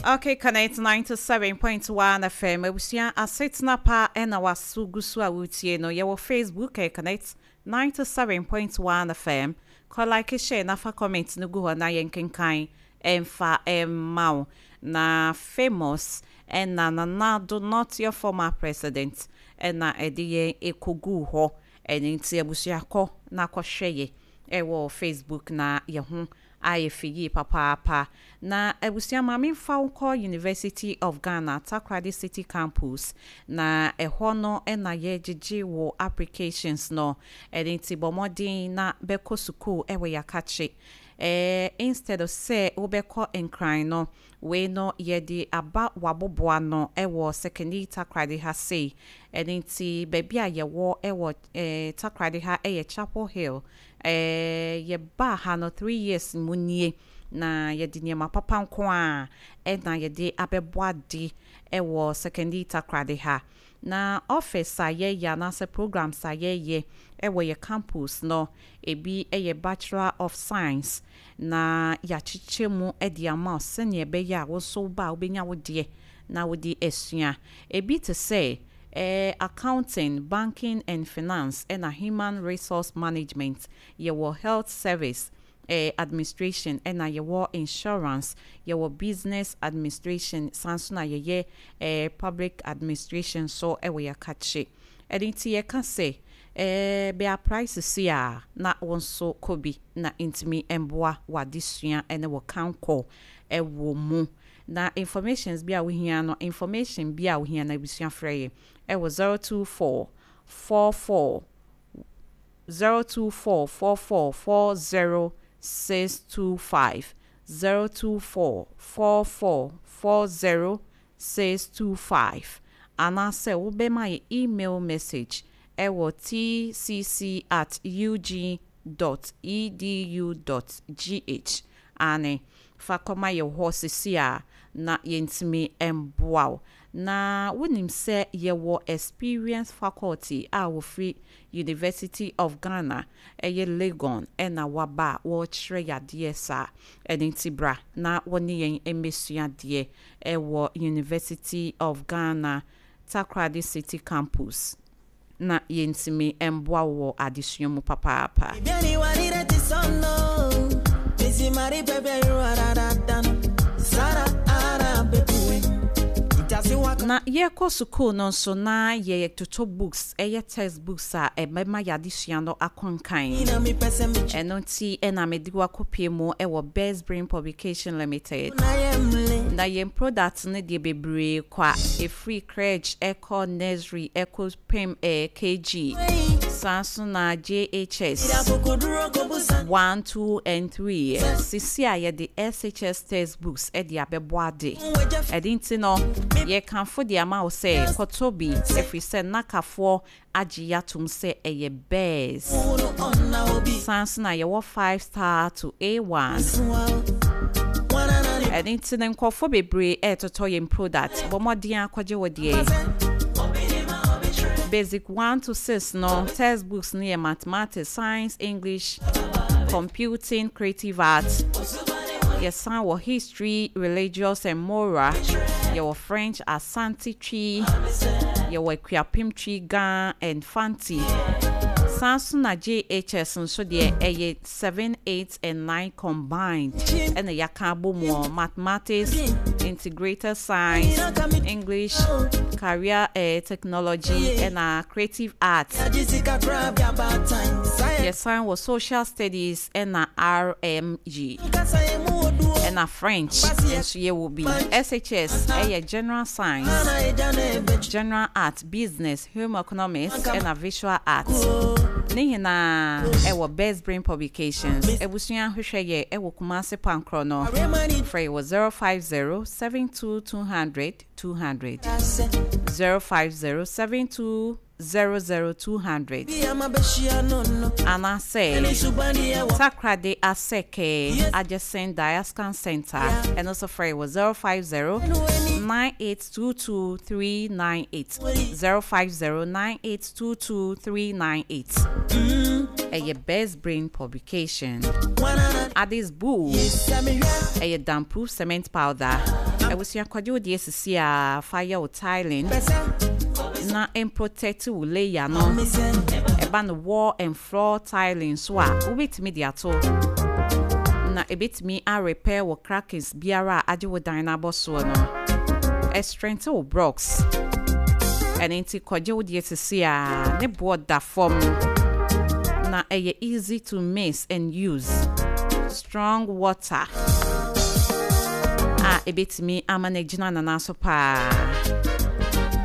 Okay, Connect 97.1 FM. Abusua asetena pa ɛna waso gu so a wotie no. Yɛwɔ Facebook ɛ Connect 97.1 FM. Kɔ like, share na fa comment no gu hɔ na yɛnkenkan ɛmfa ɛmma wo. Na famous ɛna Nana Addo, not your former president, ɛna ɛde yɛn ɛkɔguu hɔ. Ɛno nti abusua, kɔ na kɔhwɛ yɛ ɛwɔ Facebook na yɛ ho ayɛ fɛ yie papaapa. Na abusua, maame mfa wo kɔ University of Ghana Takoradi City Campus, na ɛhɔ no ɛna yɛgyegye wɔ applications no. Ɛno nti bɔ mmɔden na bɛkɔ sukuu ɛwɔ yɛakakye instead of sɛ wobɛkɔ Nkran no. Wei no yɛde aba waboboa no ɛwɔ Sekondi Takoradi ha sei. Ɛno nti baabi a yɛwɔ ɛwɔ Takoradi ha ɛyɛ Chapel Hill. Yɛbaa ha no 3 years mu nie, na yɛde nneɛma papa nko a ɛna yɛde abɛbɔ ade ɛwɔ Sekondi Takoradi ha. Na office a yɛyɛ anaasɛ programs a yɛyɛ ɛwɔ yɛ campus no, ebi ɛyɛ Bachelor of Science, na yɛakyekyɛ mu de ama wo sɛnea ɛbɛyɛ a wo nso ba a wobɛnya wo deɛ na wode asua. Ebi te sɛ accounting, banking and finance, ɛna human resource management. Yɛwɔ health service administration, ɛna yɛwɔ insurance, yɛwɔ business administration, san so na yɛyɛ public administration so ɛwɔ yɛakakye. Ɛde nti yɛka sɛ bɛa price si a na wɔn nso kɔ bi na ntumi mboa w'adesua ɛne wɔ kankɔ ɛwɔ mu. Na informations bi a wohia no, information bi a wohia no, abusua, frɛ yɛ ɛwɔ 024 44 024 44 40 625, 024 44 40 625, anaasɛ wobɛma yɛ email message ɛwɔ tcc@ug.edu.gh. Ane fa kɔma yɛ hɔ sisi a na yɛntumi mboa wo. Na wonim sɛ yɛwɔ experience faculty a wɔfiri University of Ghana, ɛyɛ Legon, ɛna waba a wɔrekyerɛ yadeɛ saa. Ɛno nti bra na wɔne yɛn mmɛsua adeɛ ɛwɔ University of Ghana Takoradi City Campus na yɛntumi mboa wo wɔ adesua mu papaapa. Vieni guarire ti sonno Misi mari pepe Sara ara bebuwe Itasi waka. Na yɛkɔ sukuu no nso na yɛtoto books, ɛyɛ textbooks a ɛbɛma yɛadesua no akɔnkan. Ina mi pese mi Ɛno nti ɛna mede wakɔpie mu ɛwɔ Best Brain Publication Limited. Na yemle. Na yɛn product no deɛ, bebree kɔ a ɛfiri crèche ɛkɔ nursery ɛkɔ pem KG, saa nso na JHS Ira kukuduro kobusa. 1, 2 and 3. Sisi a yɛde SHS textbooks ɛde abɛbɔ ade. Weja. Ɛde nti no yɛkamfo de ama wo sɛ kɔtɔ bi, ɛfiri sɛ nakafoɔ agye yɛatom sɛ ɛyɛ best. Unu onna obi. San so na yɛwɔ 5 star to A1. Suwa Wana na ni. Ɛde nti no nkurɔfoɔ bebree ɛɛtotɔ yɛn product. Bɔ mmɔden akɔgye wo deɛ. Basic 1 to 6 no textbooks no yɛ mathematics, science, English, computing, creative arts. Yɛsan wɔ history, religious and moral. Yɛwɔ French, Asante, Twi, yɛwɔ Akuapem Twi, Ga and Fanti. San so na JHS nso deɛ ɛyɛ 7, 8 and 9 combined, ɛna yɛaka abɔ mu ɔ mathematics, integrated science, English, career technology, ɛna creative arts. Jessica grab your bad time Saya. Yɛsan wɔ social studies ɛna RMG Kasa emu oduo. Ɛna French nso yɛwɔ bi. SHS ɛyɛ general science, Ana eja na ebe general art, business, home economics, ɛna visual arts. Ne nyinaa ɛwɔ Best Brain Publications. Abusua, hwehwɛ yɛ ɛwɔ Kumase Pankorɔ no. Aremani. Frɛ wɔ 050 72 200 200, Ase. 050 72 00 200, Bi ama beshia no no. anaasɛ Subani ewa. Takoradi Asɛkɛ, adjacent Diascan Center. Ɛno nso frɛ wɔ 050 9822 398, 050 9822 398. Ɛyɛ Best Brain Publication. Wana na Addis Bull Sami ɛyɛ damproof cement powder. Abusua, kɔgye wo deɛ sisi a fa yɛ wo tiling na ɛmprotect wo layer no. Ɛba no wall and floor tiling so a, wobɛtumi de ato na ɛbɛtumi arepair wo crackings biara a agye wo dan no abɔ soɔ no. Ɛstrengthen wo blocks. Ɛno nti kɔgye wo deɛ sisi a ne boɔ da fam na ɛyɛ easy to mix and use. Strong water a ɛbɛtumi ama no agyina nana so paa.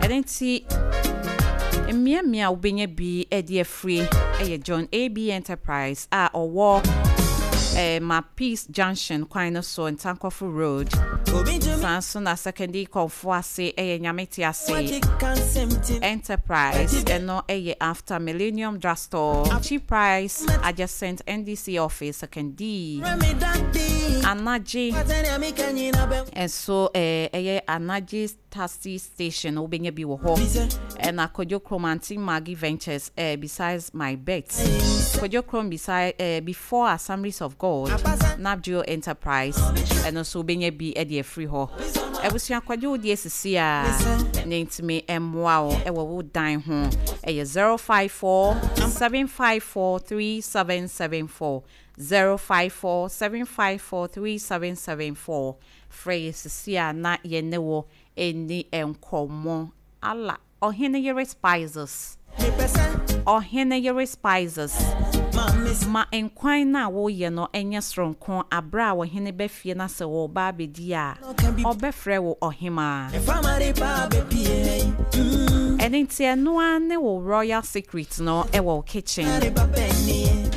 Ɛno nti mmeammea a wobɛnya bi de afiri ɛyɛ John AB Enterprise a ɔwɔ Ma Peace Junction kwan no so, Ntankɔfo Road. Saa nso na Sekondi Kɔmfo ase ɛyɛ Nyame Te Ase Enterprise, ɛno ɛyɛ after Millennium Drugstore, Cheap Price, adjacent NDC office, Sekondi. Anagye nso ɛyɛ Anagye taxi station, wobɛnya bi wɔ hɔ. Ɛna Kodwo Krom, Aunty Maggie Ventures, besides My Bet. Kodwo Krom beside before Assemblies of God, Nabgeo Enterprise, ɛno nso wobɛnya bi de afiri hɔ. Abusua, kɔgye wo deɛ sisi a ne ntumi mmoa wo ɛwɔ wo dan ho. Ɛyɛ 054 754 3774, 054 754 3774. Frɛ yɛ sisi a na yɛne wo ɛni nkɔmmɔ. Ala Ɔhene Yere Spices, Ɔhene Yere Spices, ma nkwan no a woyɛ no ɛnyɛ soronko. Aberɛ a ɔhene bɛfie na sɛ wɔba abɛdi a, ɔbɛfrɛ wo ɔhemaa. Ɛno nti ɛno ara ne wo royal secret no ɛwɔ wo kitchen.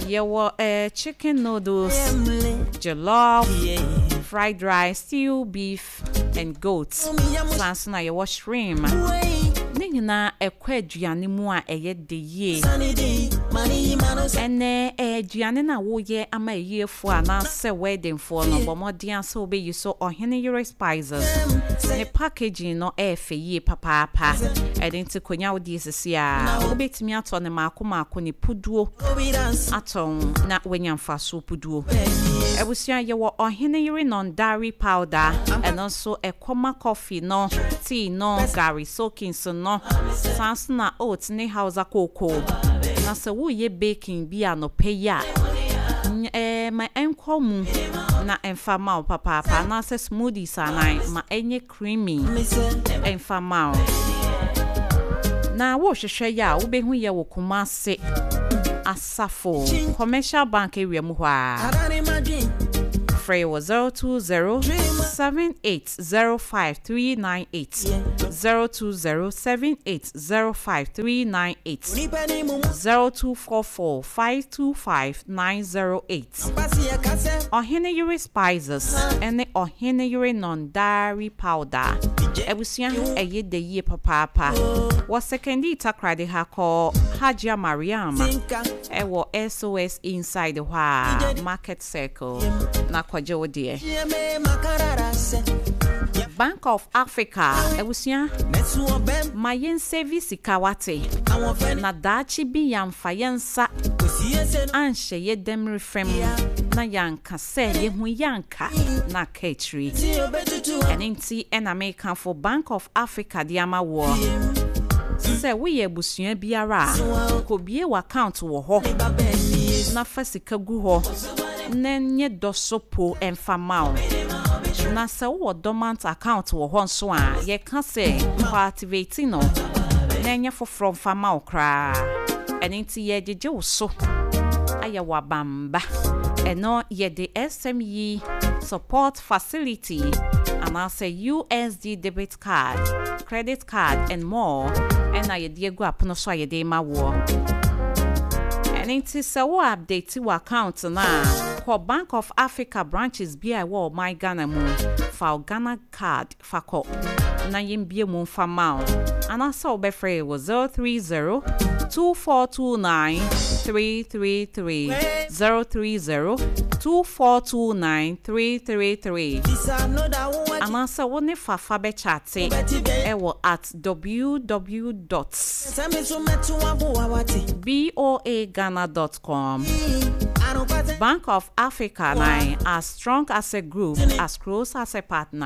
Yɛwɔ chicken noodles, jollof, fried rice, stew, beef and goat. Saa nso na yɛwɔ shrimp. Ne nyinaa ɛkɔ aduane mu a ɛyɛ de yie. Ɛnɛ aduane no a woyɛ ama ayiefoɔ anaasɛ weddingfoɔ no, bɔ mmɔden sɛ wobɛyi so Ɔhene Yere Spices. Ne packaging no ɛyɛ fɛ yie papaapa. Ɛde nti konya wo deɛ sisi a wobɛtumi atɔ ne maako maako ne puduo atɔn na woanya mfasoɔ puduo. Abusua, yɛwɔ Ɔhene Yere non-dairy powder. Ɛno nso ɛkɔma coffee no, tea no, gari soakings no. Saa nso na oats ne Hausa cocoa. Na sɛ woyɛ baking bi anɔpɛ yi a, ma ɛnkɔ mu na ɛmfa ma wo papaapa, anaasɛ smoothies anan ma ɛnyɛ creamy ɛmfa ma wo. Na wohwehwɛ yɛ a, wobɛhu yɛ wɔ Kumase Asafo Commercial Bank area mu hɔ a. Frɛ wɔ 020 7805 398, 020 7805 398, 0244 525 908. Ɔhene Yere Spices ɛne Ɔhene Yere non-dairy powder. Abusua, ɛyɛ da yie papaapa. Wɔ Sekondi Takoradi ha, kɔ Hajia Mariam ɛwɔ SOS inside hɔ a, Market Circle, na kɔgye wo deɛ. Bank of Africa, abusua, ma yɛn save sika wate, na daakye bi yɛmfa yɛn nsa anhyɛ yɛ dɛm fam na yɛanka sɛ yɛhu yɛanka na aka akyiri. Ɛno nti ɛna mekamfo Bank of Africa de ama woɔ sɛ woyɛ abusua biara a, kɔbie w'account wɔ hɔ na fa sika gu hɔ na nyɛ dɔ so po ɛmfa ma wo. Na sɛ wowɔ dormant account wɔ hɔ nso a, yɛka sɛ kɔ activate no na ɛnyɛ foforɔ mfa ma wo koraa. Ɛno nti yɛgyegye wo so ayɛ wo abamba. Ɛno yɛde SME support facility anaasɛ USD debit card, credit card and more ɛna yɛde agu apono so a yɛde ma woɔ. Ɛno nti sɛ wo update wɔ account no a, kɔ Bank of Africa branches bi a ɛwɔ ɔman Ghana mu, fa wo Ghana Card fa kɔ na yɛmbie mu mfa ma wo, anaasɛ wobɛfrɛ yɛ wɔ 030 2429 333, 030 2429 333, anaasɛ wo ne Fafa bɛchat ɛwɔ @www boaghana.com. Bank of Africa na as strong as a group, as close as a partner.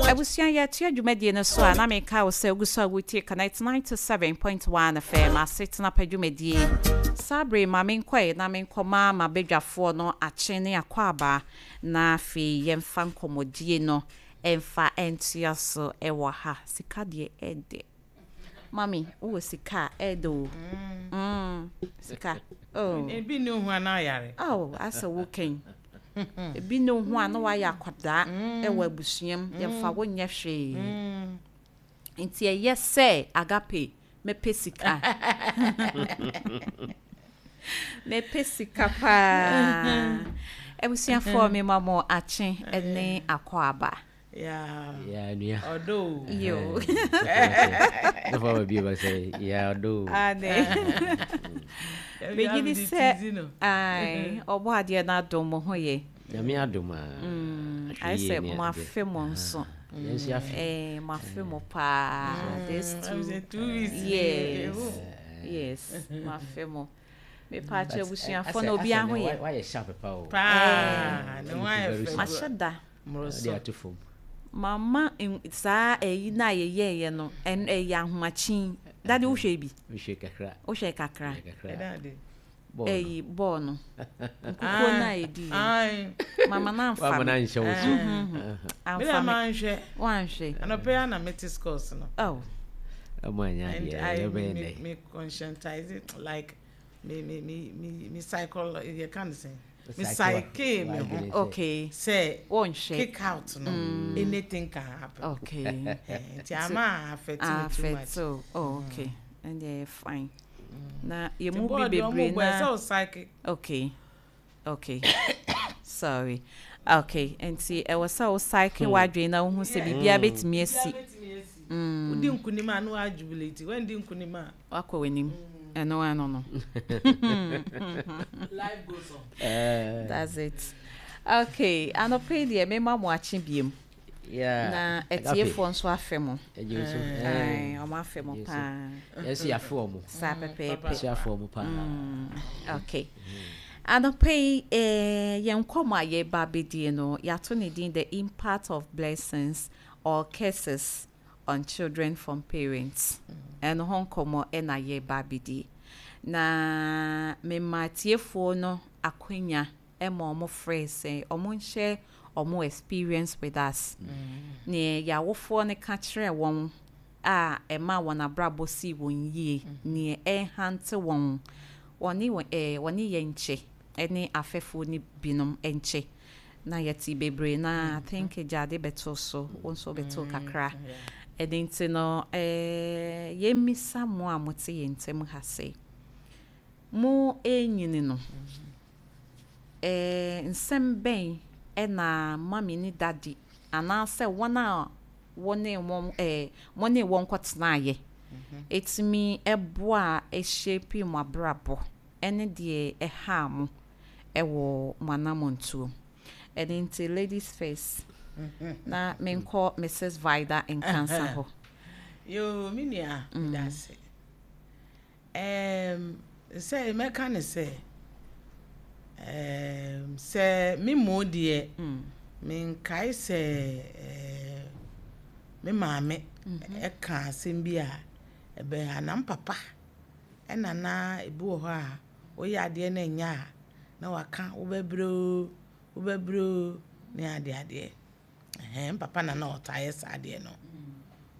Abusua, yɛtoa dwumadie no so a, na meka wo sɛ wogu so a wotie Connect 97.1 FM asetena pa dwumadie. Saa bere ma menkɔe na menkɔma m'abadwafoɔ no akye ne akwaaba, na afei yɛmfa nkɔmmɔdie no ɛmfa ɛntoa so ɛwɔ ha. Sika deɛ, ɛdɛ. Mami, wowɔ sika a, ɛdɛ o. Sika. Oh. Ebi ne ho ana ayare. Oh, asɛ wo kɛn. Ebi ne ho a na wayɛ akwadaa ɛwɔ abusua mu, yɛmfa wo nyɛ hwee. Nti ɛyɛ sɛ agape mɛpɛ sika. Mɛpɛ sika paa. Abusuafoɔ, mema mo akye ne akwaaba. Yeah. Yeah, nua. Ɔdɔ. Yo. Sɔfo aba bio ba sɛ yeah, ɔdɔ. Ane. Megye di sɛ ai, ɔbɔ adeɛ no adom mo ho yɛ. Nyame adom a. Ayɛ sɛ mo afe mo nso. Yɛn nso afe. Mo afe mo paa. This two. 2 weeks. Yes. Mo afe mo. Mepa akyɛ, abusuafoɔ na obi aho yɛ. Wayɛ sharp pa o. Paa. Ne ho ayɛ fɛ. Mahyɛ da. Ɔde ato fam. Mama saa ɛyi na yɛyɛɛyɛ no, ɛyɛ ahomakyin. Dade, wohwɛ bi? Wohwɛ kakra. Wohwɛ kakra? Kakra. Ɛyi bɔɔl no. Nkukuo no a yɛdi yɛ. Mama na amfa Wama me. na nhyɛ wo so. Me na Amfa me. manhwɛ. Wanhwɛ. Anɔpɛ ya na mete scores no. Oh. Ɔmo anya And adeɛ I ɛbɛyɛ me dɛ. me conscientize it, like me me me cycle you can say me psyche me ho sɛ Wonhwɛ. kick out no, anything can happen. Nti ama affect me too much. Affect o. Oh, okay. And ɛyɛ fine. Na yɛn mu bi Nti bɔɔl deɛ ɔmo bebree bɔ ɛsɛ na o psyche. Okay. Sorry. Okay. Nti ɛwɔ sɛ wo psyche w'adwene na wohu sɛ biribiara bɛtumi asi. Wodi nkunim a, na wa jubilate. Wandi nkunim a, Wakɔ w'anim. Ɛno ano no. Life goes on. That's it. Okay. Anɔpa yi deɛ, mema mo akye biem. Na atiefoɔ nso afɛ mo. Ɛgye so. Ae, ɔmo afɛ mo paa. Yɛn nso yɛafe ɔmo. Saa pɛpɛɛpɛ. Yɛn nso yɛafe ɔmo paa. Okay. Anɔpa yi, yɛn nkɔmmɔ a yɛreba abɛdie no, yɛato ne din "The Impact of Blessings or Curses on Children from Parents". Ɛno ho nkɔmmɔ ɛna yɛreba abɛdie. Na mema atiefoɔ no akwanya ɛma ɔmo frɛ sɛ ɔmo nhyɛ ɔmo experience with us. Neɛ yɛawofoɔ no ka kyerɛ wɔn a ɛma wɔn abrabɔ sii wɔn yie, neɛ ɛhante wɔn, wɔne wɔn wɔne yɛn nkyɛ ɛne afɛfoɔ no binom nkyɛ. Na yɛte bebree na I think Gyade bɛto so, wo nso bɛto kakra. Ɛno nti no, yɛmmisa mo a mote yɛn ntam ha sɛ, mo ɛnyini no, nsɛm bɛn ɛna mami ne daddy anaasɛ wɔn a wɔne wɔn mo ne wɔn kɔtenaeɛ ɛtumi ɛboa a ɛhyɛ mo abrabɔ, ɛne deɛ ɛhaa mo ɛwɔ mo anammɔntuo? Ɛno nti, ladies first, na menkɔ Mrs Vida Nkansa hɔ. Yo, me nua, meda ase. Sɛ mɛka ne sɛ sɛ me mo deɛ, menkae sɛ me maame ɛka asɛm bi a ɛbɛha na papa ɛna na ebi wɔ hɔ a woyɛ adeɛ na ɛnyɛ a, na waka wobɛbrɛ o, wobɛbrɛ o, ne adeɛ adeɛ. Ɛhɛn, papa na na ɔtaa yɛ saa adeɛ no,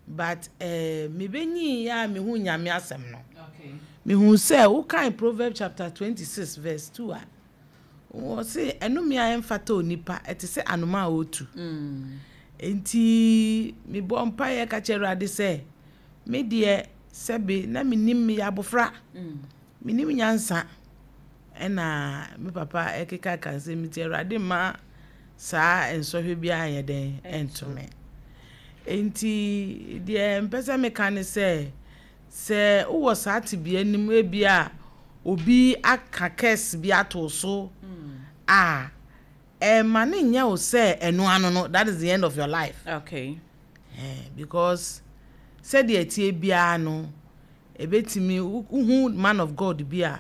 but mebɛnyii a mehu Nyame asɛm no, mehu sɛ wokan Proverb chapter 26 verse 2 a, wɔ se ɛnome a ɛmfata onipa ɛte sɛ anoma a ɔtu. Nti mebɔ mpaeɛ ka kyerɛ Awurade sɛ me deɛ, sɛbe na menim, meyɛ abɔfra, menim nyansa, ɛna me papa ɛkeka ka nsɛm, nti Awurade mma saa nsɔhwɛ biara nyɛ dɛn ɛnto me. Nti deɛ mpɛ sɛ meka ne sɛ, sɛ wowɔ saa tebea nim, ebi a obi aka curse bi ato so a, ɛma ne nyɛ wo sɛ ɛno ano no, that is the end of your life. Because sɛdeɛ tie biara no, ebetumi wohu man of God bi a.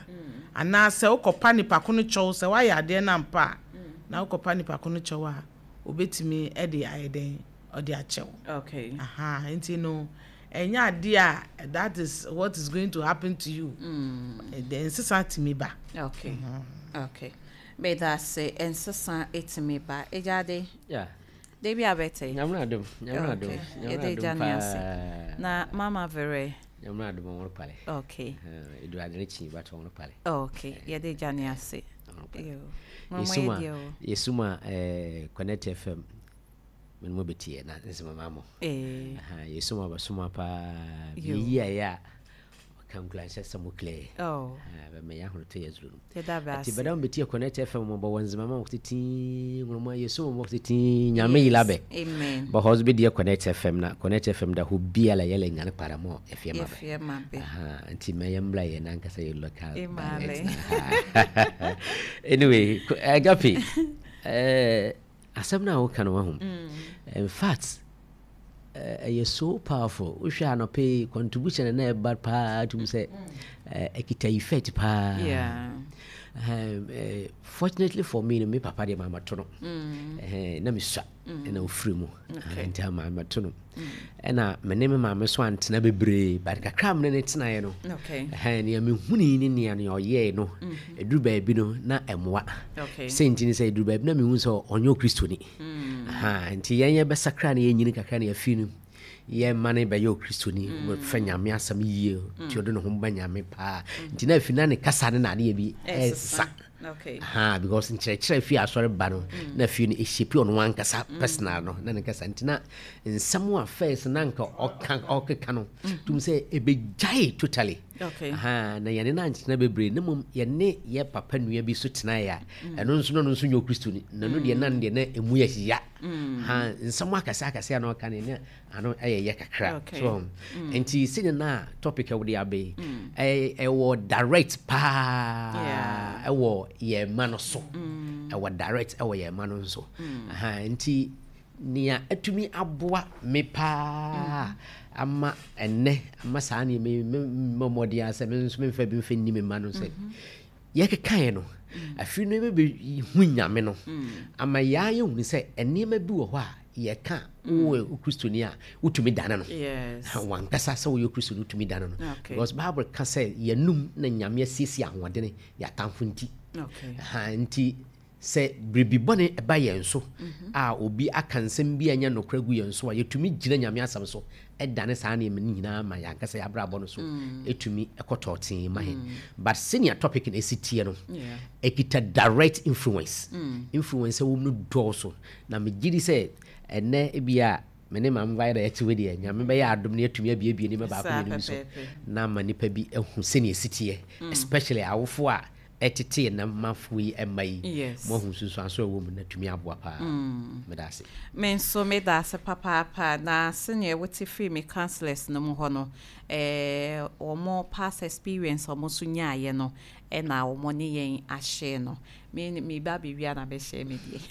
Anaasɛ wokɔpa nipa ko no kyɛw sɛ woayɛ adeɛ no ampa a, na wokɔpa nipa ko no kyɛw a, obetumi de ayɛ dɛn, ɔde akyɛ wo. Aha, nti no, ɛnyɛ adeɛ a that is what is going to happen to you. Ɛdɛ nsesa tumi ba. Okay. Okay. Meda ase, nsesa etumi ba. Ejade. Yeah. Debi abete. Nyamra adom, nyamra adom. Yɛde gya ne ase. Na mama vere. Nyamra adom ɔwɔ pale. Okay. Edu adene chi but ɔwɔ pale. Okay. Yɛde gya ne ase. Yo. Yesuma, Yesuma Connect FM. Men mo betie na nsema mamo. Eh. Aha, Yesuma basuma pa. Yi ya ya. Kankula nhyɛ sɛ mo clear. Oh. Bɛ me ya hono te yɛzuru no. Yɛda bɛ Ati ase. bɛda mo betie Connect FM mo bɔ wɔn nzema ma mo titi ngoroma Yesuma mo titi nyame yila bɛ. Amen. Bɔ hɔ bi deɛ Connect FM na Connect FM da ho biala yɛlɛ nyane para mo efie ma bɛ. Yɛfie ma bɛ. Aha, nti mɛyɛ mbla yɛ nankasa yɛ local Imale. dialect na. Anyway, Agape, asɛm no a woka no wahu. In fact, ɛyɛ so powerful. Wohwɛ anɔpɛ yi contribution na ɛba paa tum sɛ ɛkita effect paa. Yeah. Fortunately for me no, me papa deɛ maamato no. Na mesua ɛna ofiri mu. Nti maamato no. Ɛna me ne me maame so antena bebree, but kakra me ne ne tenaeɛ no. Okay. Nea mehunii ne nea nea ɔyɛe no, ɛduru baabi no na ɛmmoa. Okay. Sɛ nti ne sɛ ɛduru baabi na mehu sɛ ɔnyɛ Okristoni. Aha, nti yɛn yɛbɛsakra na yɛnyini kakra na yɛafiri no, yɛma no bɛyɛ Okristoni, wɔfɛ Nyame asɛm yie, nti ɔde ne ho ba Nyame paa. Nti na afiri na ne kasa ne n'adeɛ bi ɛsesa. Okay. Aha, because nkyerɛkyerɛ fi asɔre ba no, na afei no ɛhyɛpi ɔno ankasa personal no, na ne kasa. Nti na nsɛm a first na nka ɔka ɔkeka no, tum sɛ ɛbɛgyae totally. Okay. Aha, na yɛne no antena bebree, na mmom yɛne yɛ papa nua bi so tenaeɛ a, ɛno nso no, ɔno nso nyɛ Okristoni, na no deɛ na no deɛ na ɛmu yɛ ya. Ha, nsɛm akɛse akɛse a na ɔka no, ne ano ɛyɛ yɛ kakra. Okay. So, nti sɛdeɛ na topic a wode aba yi, ɛwɔ direct paa ɛwɔ yɛn mma no so. Ɛwɔ direct ɛwɔ yɛn mma no nso. Aha, nti nea atumi aboa me paa ama ɛnnɛ ama saa nneɛma yi me mmɔden a sɛ me nso memfa bi mfa nni me mma no sɛ yɛkekaeɛ no, afei no yɛbɛbɛhu Nyame no ama yɛa yɛhunu sɛ nneɛma bi wɔ hɔ a yɛka wowɔ Kristoni a wotumi dane no. Yes. Wankasa sɛ woyɛ Kristoni wotumi dane no. Okay. Because Bible ka sɛ yɛnum na Nyame asiesie ahoɔdene yɛatamfo nti. Okay. Ha, nti sɛ biribi bɔne ɛba yɛn so a obi aka nsɛm bi a ɛnyɛ nokorɛ gu yɛn so a, yɛtumi gyina Nyame asɛm so ɛdane saa nneɛma no nyinaa ma yɛn ankasa yɛabrabɔ no so ɛtumi ɛkɔtɔ tee ma yɛn. But sɛnea topic no ɛsi teɛ no, ɛkita direct influence. Influence a ɛwɔ mu no dɔɔso. Na megye di sɛ ɛnnɛ ebi a me ne maame bayɛ na yɛte wei deɛ, Nyame bɛyɛ adom na yɛatumi abiebie nneɛma baako Saa mmienu bi so pɛpɛɛpɛ. na ama nnipa bi ahu sɛnea ɛsi teɛ, especially awofo a ɛtete na mafo yi ɛma yi. Yes. Mo ahu nsunsuanso a ɛwɔ mu na tumi aboa paa. Meda ase. Me nso meda ase papaapa. Na sɛnea wote firi me counselors no mu hɔ no, wɔn past experience a wɔn nso nyaeɛ no, ɛna wɔn ne yɛn ahyɛ no. Me ba bɛwia na bɛhyɛ me deɛ.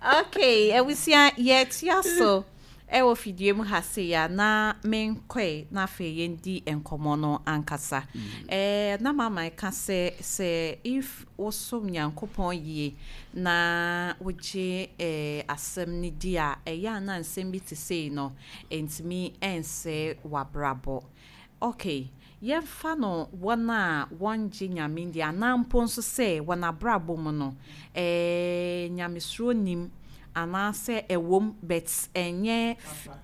Okay, abusua yɛtua so ɛwɔ fidie mu ha se ya na menkɔe na afei yɛndi nkɔmmɔ no ankasa. Na mama ɛka sɛ if wosom Nyankopɔn yie na wogye asɛm no di a, ɛyɛ a na nsɛm bi te sei no ntumi ɛnsɛ w'abrabɔ. Okay, yɛmfa no wɔn a wɔngye Nyame ndi anaa mpo nso sɛ wɔn abrabɔ mu no, nyamesuro nim anaasɛ ɛwom but ɛnyɛ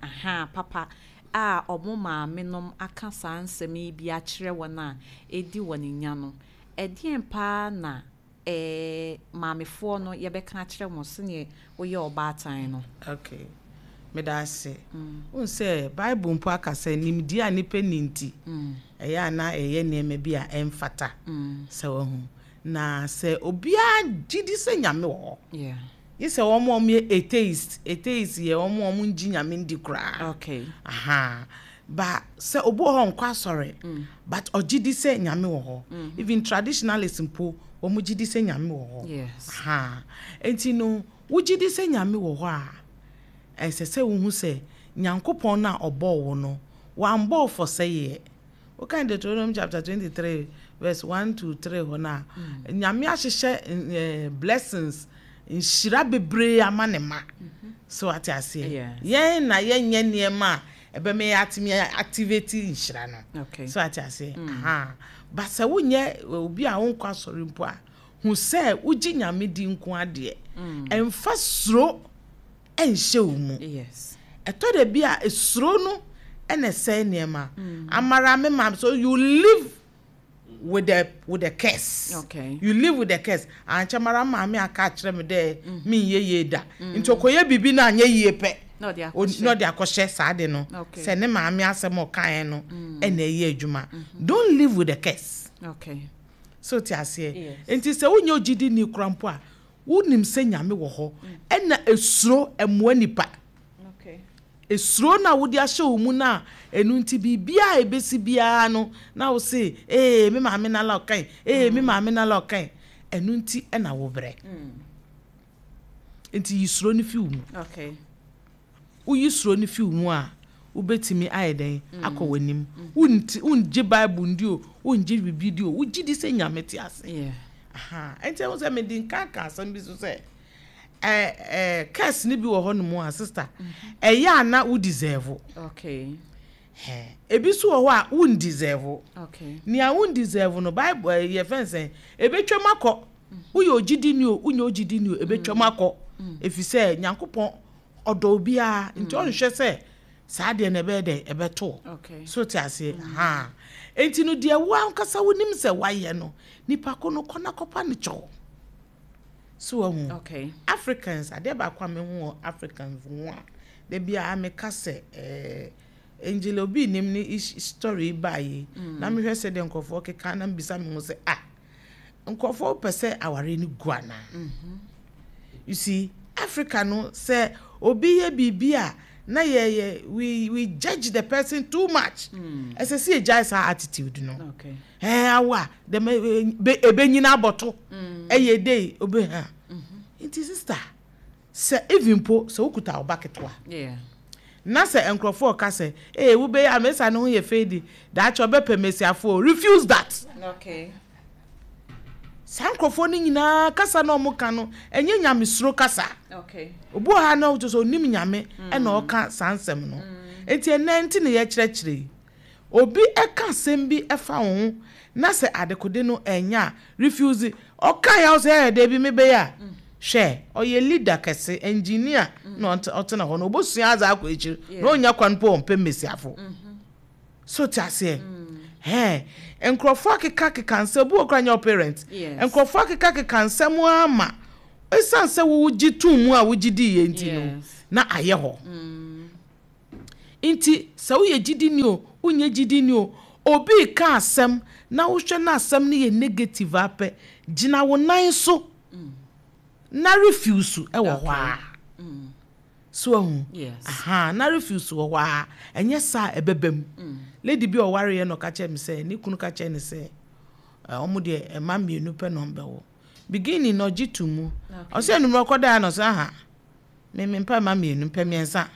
aha papa a ɔmo maame nom aka saa nsɛm yi bi akyerɛ wɔn a ɛdi wɔn nya no. Ɛdeɛn paa na maamefoɔ no yɛbɛka akyerɛ wɔn sɛneɛ woyɛ ɔbaatan no? Okay. Meda ase. Wohu sɛ Bible mpo aka sɛ nimdeɛ a nnipa nni nti, ɛyɛ a na ɛyɛ nneɛma bi a ɛmfata sɛ wahu. Na sɛ obiara gye di sɛ Nyame wɔ hɔ. Gye sɛ wɔn a wɔyɛ atheist, atheist yɛ wɔn a wɔngye Nyame ndi koraa. Okay. Aha. Ba sɛ obi wɔ hɔ nkɔ asɔre, but ɔgye di sɛ Nyame wɔ hɔ. Even traditionalist mpo, wɔn gye di sɛ Nyame wɔ hɔ. Yes. Aha. Enti no, wogye di sɛ Nyame wɔ hɔ a, ɛsɛ sɛ wohu sɛ Nyankopɔn no a ɔbɔɔ wo no, wambɔ wo for sɛeɛ. Wokan Deuteronomy chapter 23 verse 1 to 3 hɔ no a, Nyame ahyehyɛ blessings, nhyira bebree ama ne ma. So ate aseɛ? Yes. Yɛn na yɛnyɛ nneɛma a ɛbɛma yɛatumi activate nhyira no. So ate aseɛ? Aha. But sɛ wonyɛ obi a wonkɔ asɔre mpo a, hu sɛ wogye Nyame di nko adeɛ. Ɛmfa suro ɛnhyɛ wo mu. Ɛtɔ da bi a esuro no ɛna ɛsɛe nneɛma. Amara me ma, so you live with the curse. You live with the curse. Ankyɛ mara maame aka akyerɛ me dɛ menyɛ yie da. Nti ɔkɔyɛ biribi na anyɛ yie pɛ, Na ɔde akɔhyɛ. Na ɔde akɔhyɛ saa de no. Sɛ ne maame asɛm a ɔkaeɛ no ɛna ɛyɛ adwuma. Don't live with the curse. So te aseɛ? Yes. Nti sɛ wonyɛ ogyidi ni kora mpo a, wonim sɛ Nyame wɔ hɔ. Ɛna esuro ɛmmoa nipa. Esuro na wode ahyɛ wo mu na ɛno nti biribiara a ɛbɛsi biara no na wo se, "Ee, me maame nala ɔkan, ee, me maame nala ɔkan." Ɛno nti ɛna wo brɛ. Nti yi suro no fi wo mu. Woyi suro no fi wo mu a, wobɛtumi ayɛ dɛn akɔ w'anim. Wonti wongye Bible ndi o, wongye biribi di o, wogye di sɛ Nyame te ase. Aha. Nti ɛho sɛ mede nka ka asɛm bi so sɛ ɛ ɛ curse ni bi wɔ hɔ nom a, sister, ɛyɛ a na wo deserve. Hɛ, ebi so wɔ hɔ a won deserve. Nea won deserve no, Bible yɛ fɛn sɛn, ebetwam akɔ. Woyɛ ogyidi ni o, wonyɛ ogyidi ni o, ebetwam akɔ, efi sɛ Nyankopɔn ɔdɔ obiara, nti ɔnhwɛ sɛ saa deɛ na ɛbɛyɛ dɛ ɛbɛto. So te aseɛ? Ha, nti no deɛ wo ankasa wonim sɛ wayɛ no, nipa ko no, kɔ na kɔpa ne kyɛw. So wahu? Okay. Africans, adeɛ baako a mehu wɔ Africans ho a da biara meka sɛ Angel Obi nim ne story baa yi na mehwɛ sɛ deɛ nkurɔfoɔ keka na mbisa me ho sɛ, ah, nkurɔfoɔ pɛ sɛ aware no gu anaa? You see, Africa no, sɛ obi yɛ biribi a na yɛ we judge the person too much. Ɛsɛ sɛ yɛgyae saa attitude no. Ɛɛ, awo a dɛm ebenyina abɔto ɛyɛ de obe ha. Nti sister, sɛ even po sɛ wokuta ɔba ketewa na sɛ nkurɔfoɔ ka sɛ, "Ee, wobɛyɛ amesa ne ho yɛ fɛ di, daakye ɔbɛpɛ mesiafoɔ," refuse that. Saa nkurɔfoɔ no nyinaa kasa na ɔmo ka no, ɛnyɛ nyamesuro kasa. Obi wɔ ha na ɔkyerɛ sɛ onim Nyame ɛna ɔka saa nsɛm no. Nti ɛnɛ nti na yɛkyerɛkyerɛ yi, obi ɛka asɛm bi ɛfa wo ho na sɛ adekode no ɛnyɛ a, refuse. Ɔka yɛ sɛ ɛyɛ dɛ bi mebɛyɛ a, hwɛ, ɔyɛ leader kɛse, engineer na ɔtena hɔ no, obosua adze akɔ akyiri na ɔnya kwan po ɔmpɛ mmesiafo. So te aseɛ? Hɛn nkurɔfoɔ akeka keka nsɛm obi wɔ kora nyɛ parent. Nkurɔfoɔ akeka keka nsɛm ama esan sɛ wogye tum mu a wogye di yɛ nti no na ayɛ hɔ. Nti sɛ woyɛ gyidi ni o, wonyɛ gyidi ni o, obi ka asɛm na wohwɛ na asɛm no yɛ negative apɛ, gyina wo nan so na refuse ɛwɔ hɔ a. So ahu? Yes. Aha, na refuse wɔ hɔ a, ɛnyɛ saa ɛbɛba mu. Lady bi a ɔwareɛ no, ɔka kyerɛ me sɛ ne kunu ka kyerɛ ne sɛ ɔmo deɛ ɛma mmienu pɛ na ɔmbɛwɔ. Beginning na ɔgye to mu. Ɔsɛ enumere ɔkɔdaa na ɔsɛ, "Aha, me me mpɛ ma mmienu, mpɛ mmiɛnsa.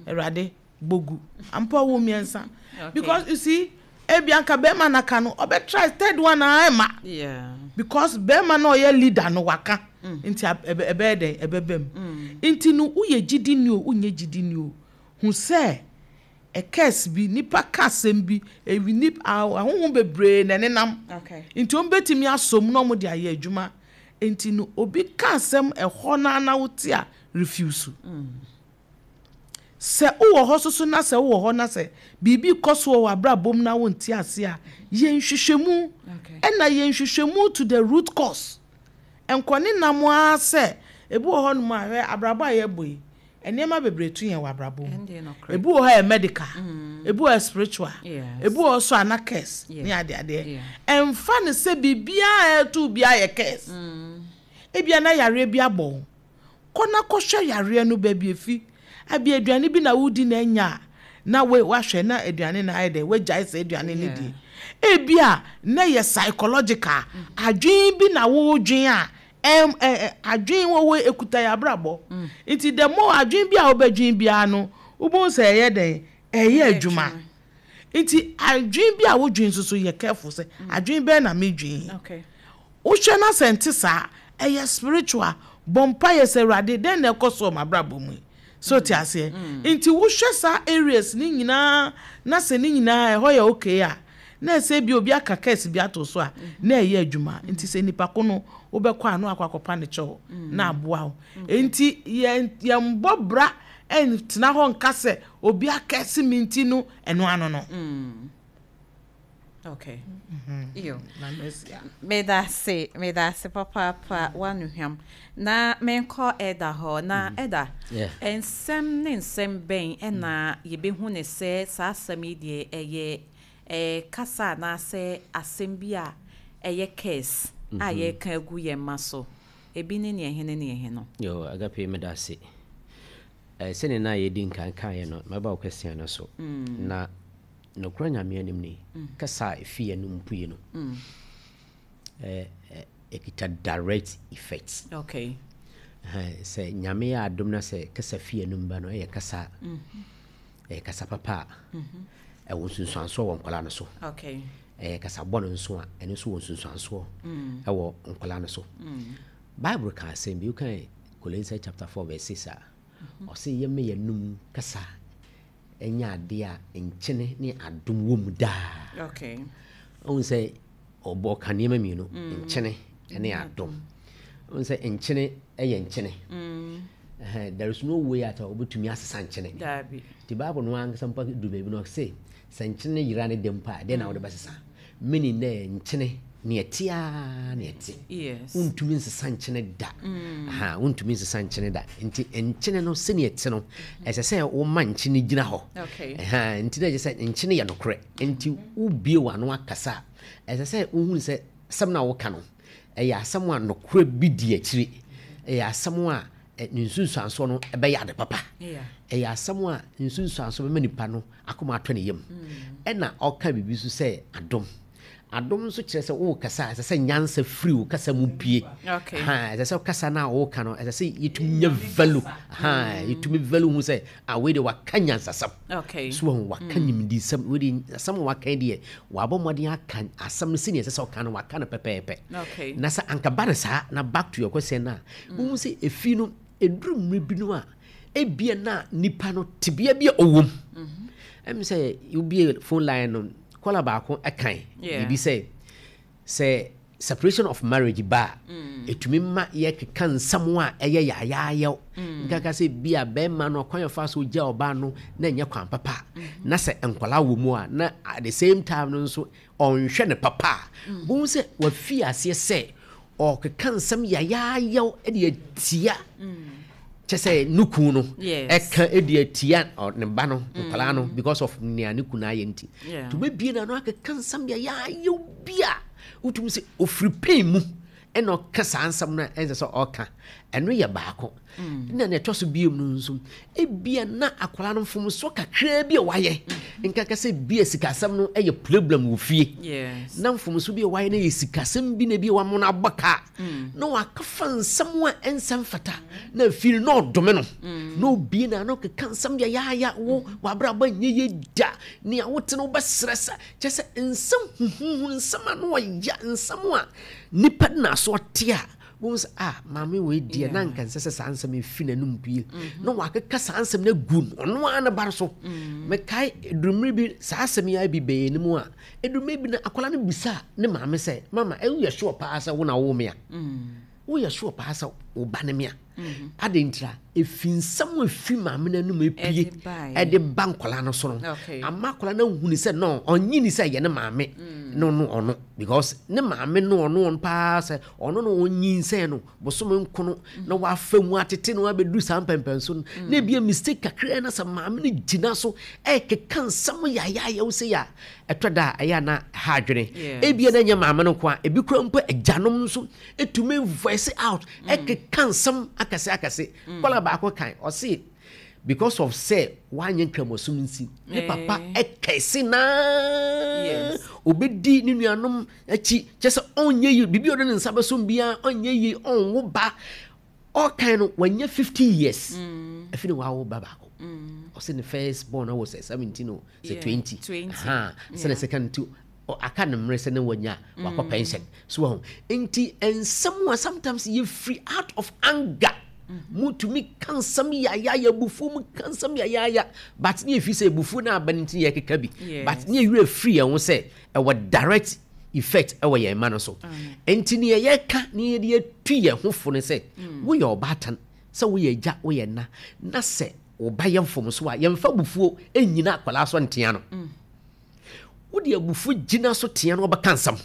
Awurade bogu ampa ɔwɔ mmiɛnsa." Because you see, ebi anka bɛrima naka no, ɔbɛ try third one a ɛma. Because bɛrima na ɔyɛ leader no waka. Nti ɛbɛyɛ dɛn, ɛbɛba mu. Nti no woyɛ gyidi ni o, wonyɛ gyidi ni o, hu sɛ ɛkɛs bi nipa ka asɛm bi ewi nip ahohom bebree na ɛnenam. Nti wɔn bɛtumi asom na wɔn de ayɛ adwuma. Nti no obi ka asɛm ɛhɔ naa na wote a, refuse. Sɛ wowɔ hɔ soso na sɛ wowɔ hɔ na sɛ biribi kɔ so wɔ w'abrabɔ mu na wonte ase a, yɛ nhwehwɛmu. Ɛna yɛ nhwehwɛmu to the root cause. Nkɔne nam ara sɛ ebi wɔ hɔnom a, hwɛ, abrabɔ a yɛbɔ yi, nneɛma bebree to yɛn wɔ abrabɔ mu. Ɛndeɛ nokorɛ. Ebi wɔ hɔ a yɛ medical, ebi wɔ hɔ yɛ spiritual, ebi wɔ hɔ so a na curse ne adeadeɛ. Ɛmfa ne sɛ biribiara a ɛto biara yɛ curse. Ebia na yareɛ bi abɔ wo, kɔ na kɔhwɛ yareɛ no baabi efi. Abi aduane bi na wodi na anya a, na wahwɛ na aduane na ayɛ dɛ, wagyae sɛ aduane no die. Ebia na yɛ psychological adwene bi na wodwen a ɛm ɛ ɛ adwene wɔ hɔ ekuta yɛ abrabɔ. Nti the more adwene bi a wobɛdwen biara no, wobɛhu sɛ ɛyɛ dɛn, ɛyɛ adwuma. Nti adwene bi a wodwen nso so, yɛ careful sɛ adwene bɛn na medwen yi. Wohwɛ na sɛ nte saa, ɛyɛ spiritual. Bɔ mpaeɛ sɛ, "Awurade, dɛn na ɛkɔ so wɔ m'abrabɔ mu yi?" So te aseɛ? Nti wohwɛ saa areas ne nyinaa na sɛ ne nyinaa ɛhɔ yɛ okay a, na ɛsɛ bi obi aka curse bi ato so a, na ɛyɛ adwuma. Nti sɛ nipa ko no wobɛkɔ a, na wakɔ akɔpa ne kyɛw na aboa wo. Nti yɛn yɛmbɔ bra ɛntena hɔ nka sɛ obi akɛse mi nti no, ɛno ano no. Okay. Iyo. Meda ase, meda ase papaapa, wanohwam. Na menkɔ ɛda hɔ na ɛda. Nsɛm ne nsɛm bɛn ɛna yɛbɛhu ne sɛ saa asɛm yi deɛ, ɛyɛ kasa anaasɛ asɛm bi a ɛyɛ curse a yɛreka agu yɛn mma so? Ebi ne neɛ hene ne ɛhe no? Yo, Agape, meda ase. Sɛnea na yɛdi nkan kaeɛ no, mɛba wo question no so. Na nokora Nyame anim ni, kasa a ɛfi yɛn no mpue no, ɛkita direct effect. Sɛ Nyame yɛ adom na sɛ kasa fi yɛn ba no, ɛyɛ kasa ɛyɛ kasa papa a, ɛwɔ nsunsuansoɔ wɔ nkwadaa no so. Ɛyɛ kasa bɔne nso a, ɛno nso wɔ nsunsuansoɔ ɛwɔ nkwadaa no so. Bible ka asɛm bi, wokan Colossians chapter 4 verse 6 a, ɔse yɛma yɛnum kasa ɛnyɛ adeɛ a nkyene ne adom wɔ mu daa. Ɔhu sɛ ɔbɔ ka nneɛma mmienu, nkyene ne adom. Ɔhu sɛ nkyene yɛ nkyene. There is no way at all wobɛtumi asesa nkyene. Nti Bible no ankasa mpo du baabi no, ɔse sɛ nkyene yera ne dɛm mpo a, dɛn na wode bɛsesa? Meaning dɛ nkyene ne ɛte a ne ɛte. Wontumi nsesa nkyene da. Aha, wontumi nsesa nkyene da. Nti nkyene no sɛnea ɛte no, ɛsɛ sɛ woma nkyene gyina hɔ. Ɛha, nti na ɛkyerɛ sɛ nkyene yɛ nokorɛ. Nti wobie w'ano akasa a, ɛsɛ sɛ wohunu sɛ asɛm no a woka no, ɛyɛ asɛm a nokorɛ bi di akyire. Ɛyɛ asɛm a ne nsunsuansoɔ no ɛbɛyɛ ade papa. Ɛyɛ asɛm a nsunsuansoɔ bɛma nipa no akoma atɔ ne yam. Ɛna ɔka biribi nso sɛ adom. Adom nso kyerɛ sɛ wokasa a, ɛsɛ sɛ nyansa firi wo kasa mu pie. Ha, ɛsɛ sɛ kasa no a woka no, ɛsɛ sɛ yɛtumi nya value. Ha, yɛtumi value hu sɛ ah, wei deɛ waka nyansasɛm. So wahu, waka nimdesɛm. Wei deɛ asɛm a waka yi deɛ, wabɔ mmɔden aka asɛm no sɛnea ɛsɛ sɛ ɔka no, waka no pɛpɛɛpɛ. Na sɛ anka ba no saa, na back to your question no a, wohu sɛ ɛfi no, ɛduru mmerɛ bi no a, ebia na nipa no tebea bi a ɔwɔ mu. Ɛm sɛ wobie phone line no, caller baako ɛkan biribi sɛ separation of marriage ba a, ɛtumi ma yɛkeka nsɛm a ɛyɛ yaayaayɛw. Nkaka sɛ bi a bɛrima no ɔkwan ɔfa so gya ɔbaa no na ɛnyɛ kwan papa, na sɛ nkwadaa wɔ mu a, na at the same time no nso ɔnhwɛ ne papa a, bohu sɛ wafi aseɛ sɛ ɔkeka nsɛm yaayaayɛw de atia kyɛ sɛ ne kun no, ɛka de atia ne ba no, nkwadaa no, because of nea ne kun ayɛ nti. Nti wobɛbie no ano akeka nsɛm yaayaayɛw bi a wotumi sɛ ɔfiri pain mu ɛna ɔka saa nsɛm no a ɛnsɛ sɛ ɔka. Ɛno yɛ baako. Na nea ɛtɔ so biom no nso, ebia na akwadaa no mfomsoɔ kakraa bi a wayɛ, nkaka sɛ bia sikasɛm no yɛ problem wɔ fie, na mfomso bi a wayɛ no yɛ sikasɛm bi na bi a wama no abɔ ka, na wakafa nsɛm a ɛnsɛ mfata, na afei no na ɔdome no, na obie na ano keka nsɛm deɛ yaaya, wo wabrabɔ nyɛ yɛ da, nea wote no wobɛsrɛ sa, kyɛ sɛ nsɛm huhuhu, nsɛm a na ɔya, nsɛm a nipa de n'aso ɔte a, wohu sɛ ah, maame wei deɛ, na nka nsɛ sɛ saa nsɛm ɛfi n'anom pue, na wakeka saa nsɛm no agu no ɔno ara ne ba no so. Mekae ɛdurummerɛ bi, saa asɛm yi ara bi bɛyɛ no mu a, ɛdurummerɛ bi na akwadaa no bisa ne maame sɛ, "Mama, woyɛ sure paa sɛ wo na wowoo me a? Woyɛ sure paa sɛ wo ba ne me a?" Adɛn ntira? Ɛfi nsɛm a ɛfi maame no anom ɛpue ɛde ba nkwadaa no so no, ama akwadaa no ahuni sɛ no, ɔnye ni sɛ ɛyɛ ne maame no no ɔno, because ne maame no ɔno ɔno paa sɛ ɔno no ɔnyinsɛn no bosome nkono na wafa mu atete no abɛduru saa mpɛmpɛnso no, na ebia mistake kakra na sɛ maame no gyina so ɛkeka nsɛm yayaayaw sɛ yɛ a, ɛtɔ da a ɛyɛ a na ha adwene. Ebia na ɛnyɛ maame no nko a, ebi kura mpo agyanom nso ɛtumi voice out, ɛkeka nsɛm akɛse akɛse. Kɔla baako kan, ɔse because of sɛ wanyɛ nkramosom nsi, ne papa ɛkɛse naa obɛdi ne nuanom akyi, kyɛ sɛ ɔnyɛ yie, biribi a ɔde ne nsa bɛsom biara ɔnyɛ yie, ɔnwo ba. Ɔkan no wanya 50 years, afi ne wawo ba baako. Ɔsɛ ne first born wɔ sɛ 17 o, sɛ 20. 20. Aha, sɛ ne second two aka ne mmerɛ sɛ ne wanya wakɔ pension so wɔn. Nti nsɛm a sometimes yɛfiri out of anger mutumi ka nsɛm yayaya, abufuo mu ka nsɛm yayaya, but ne yɛfiri sɛ abufuo no aba no nti yɛkeka bi. But ne yɛwerɛ firi yɛn ho sɛ ɛwɔ direct effect ɛwɔ yɛn mma no so. Nti ne yɛka ne yɛde atu yɛn ho fo no sɛ woyɛ ɔbaatan, sɛ woyɛ agya, woyɛ na, na sɛ wo ba yɛ mfomso a, yɛmfa abufuo ɛnyina akwadaa so ntea no. Wode abufuo gyina so tea no, wobɛka nsɛm.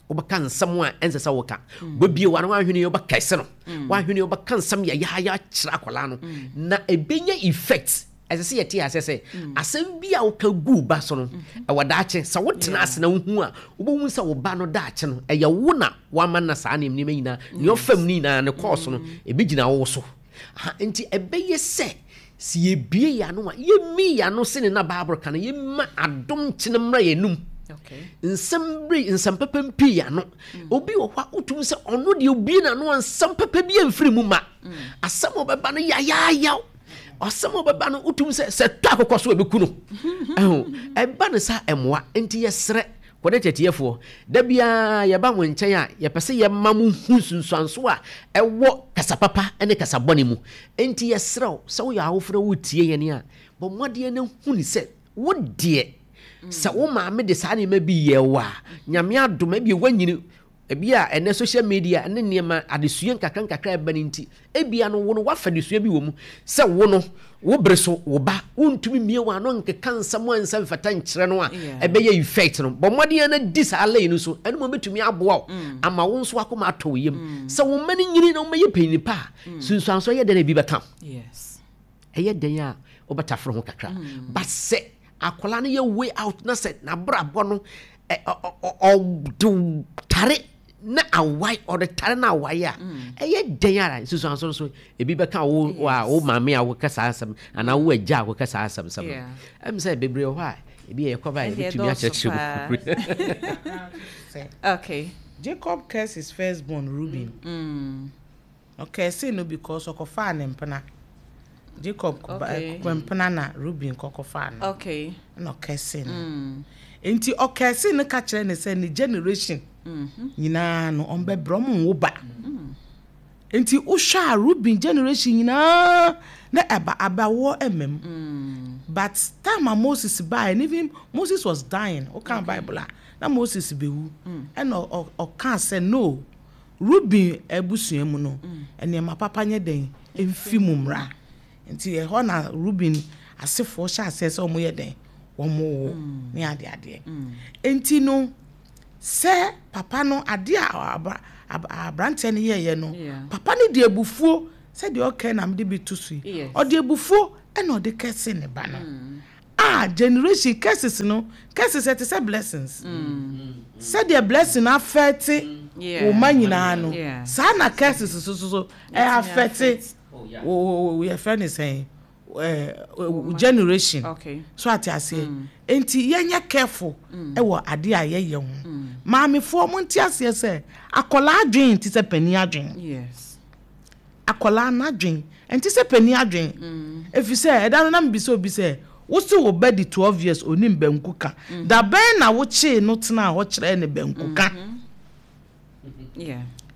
Wobɛka nsɛm a ɛnsɛ sɛ woka. Wobɛbie wa no, woahwene wobɛkɛse no, woahwene wobɛka nsɛm yɛyɛayɛ akyerɛ akwadaa no na ɛbɛnya effect. Ɛsɛ sɛ yɛte aseɛ sɛ asɛm bi a woka gu ba so no, ɛwɔ daakye. Sɛ wotena ase na wohu a, wobɛhu sɛ wo ba no daakye no, ɛyɛ wo na woama na saa nneɛma nyinaa nea ɔfam no nyinaa ne kɔɔso no ɛbɛgyina wo so. Nti ɛbɛyɛ sɛ sɛ yɛbie yɛn ano a, yɛmmi yɛn ano sene na Bible ka no, yɛmma adom nkyene mmra yɛn anum. Nsɛm bere nsɛm papa mpii yɛn ano. Obi wɔ hɔ a wotum sɛ ɔno deɛ obie n'ano a, nsɛm papa bi amfiri mu ma. Asɛm a ɔbɛba no yayaayaw, asɛm a ɔbɛba no wotum sɛ sɛ tɔ akokɔ so a ɛbɛku no. Ɛho ɛba no saa ɛmmoa. Nti yɛsrɛ kɔdɛ tɛtiɛfoɔ, da biara yɛba mo nkyɛn a, yɛpɛ sɛ yɛma mo hu nsunsuanso a ɛwɔ kasa papa ne kasa bɔne mu. Nti yɛsrɛ wo sɛ woyɛ awofo na wotie yɛn a, bɔ mmɔden na hu ne sɛ wo deɛ, sɛ wo maame de saa nneɛma bi yɛ wo a, Nyame adom ebi woanyini, ebi a ɛnɛ social media ne nneɛma adesua nkakra nkakra ɛba no nti, ebia no wo no woafa adesua bi wɔ mu sɛ wo no wo bere so wo ba wontumi mmie wɔn ano nkeka nsɛm a nsa mfata nkyerɛ no a ɛbɛyɛ effect no. Bɔ mmɔden na di saa lane no so, ɛno mo bɛtumi aboa wo ama wo nso akoma atɔ wo yam sɛ wo mma no nyini na wɔbɛyɛ panyin pa a, sunsuanso ɛyɛ dɛn na ebi bɛka? Ɛyɛ dɛn a wobɛtaforo ho kakra. But sɛ akwadaa no yɛ way out na sɛ n'abrabɔ no ɔde tare na awae, ɔde tare na awae a, ɛyɛ dɛn ara nsusuanso nso ebi bɛka wo a wo maame a woka saa asɛm anaa wo agya a woka saa asɛm sɛm no. Ɛm sɛ bebree wɔ hɔ a ebi yɛ kɔba a yɛbɛtumi akyerɛkyerɛ mu. Jacob cursed his firstborn Reuben. Ɔkɛse no because ɔkɔfaa ne mpena. Jacob mpena na Reuben kɔkɔfaa no. Ɛna ɔkɛse no. Nti ɔkɛse no ka kyerɛ ne sɛ ne generation nyinaa no ɔmbɛbrɛ, ɔmo nwo ba. Nti wohwɛ a, Reuben generation nyinaa na ɛba abawoɔ ɛmam. But time a Moses baeɛ and even Moses was dying, woka Bible a, na Moses bɛwu. Ɛna ɔkaa sɛ no, Reuben abusua mu no, nneɛma papa nyɛ dɛn mfi mu mmra. Nti ɛhɔ na Reuben asefoɔ hyɛ aseɛ sɛ wɔyɛ dɛn, wɔn wo ne adeadeɛ. Nti no sɛ papa no adeɛ a aberanteɛ no yɛɛyɛ no, papa no de abufuo, sɛdeɛ ɔkɛ na mede bi to so yi, ɔde abufuo ɛna ɔde kɛse ne ba no. A generation curses no, curses ɛte sɛ blessings. Sɛdeɛ blessing afɛte wo ma nyinaa no, saa na curses so so ɛ afɛte wo, yɛfrɛ ne sɛn, generation so ate aseɛ. Nti yɛnyɛ careful ɛwɔ adeɛ a yɛyɛ ho. Maamefoɔ, mo nte aseɛ sɛ akɔlaa adwen te sɛ panin adwen. Akɔlaa n'adwen nte sɛ panin adwen, ɛfiri sɛ ɛda no na mebisa obi sɛ, wo se wo ba di 12 years onim banku ka, da bɛn na wokyee no tenaa hɔ kyerɛɛ ne banku ka?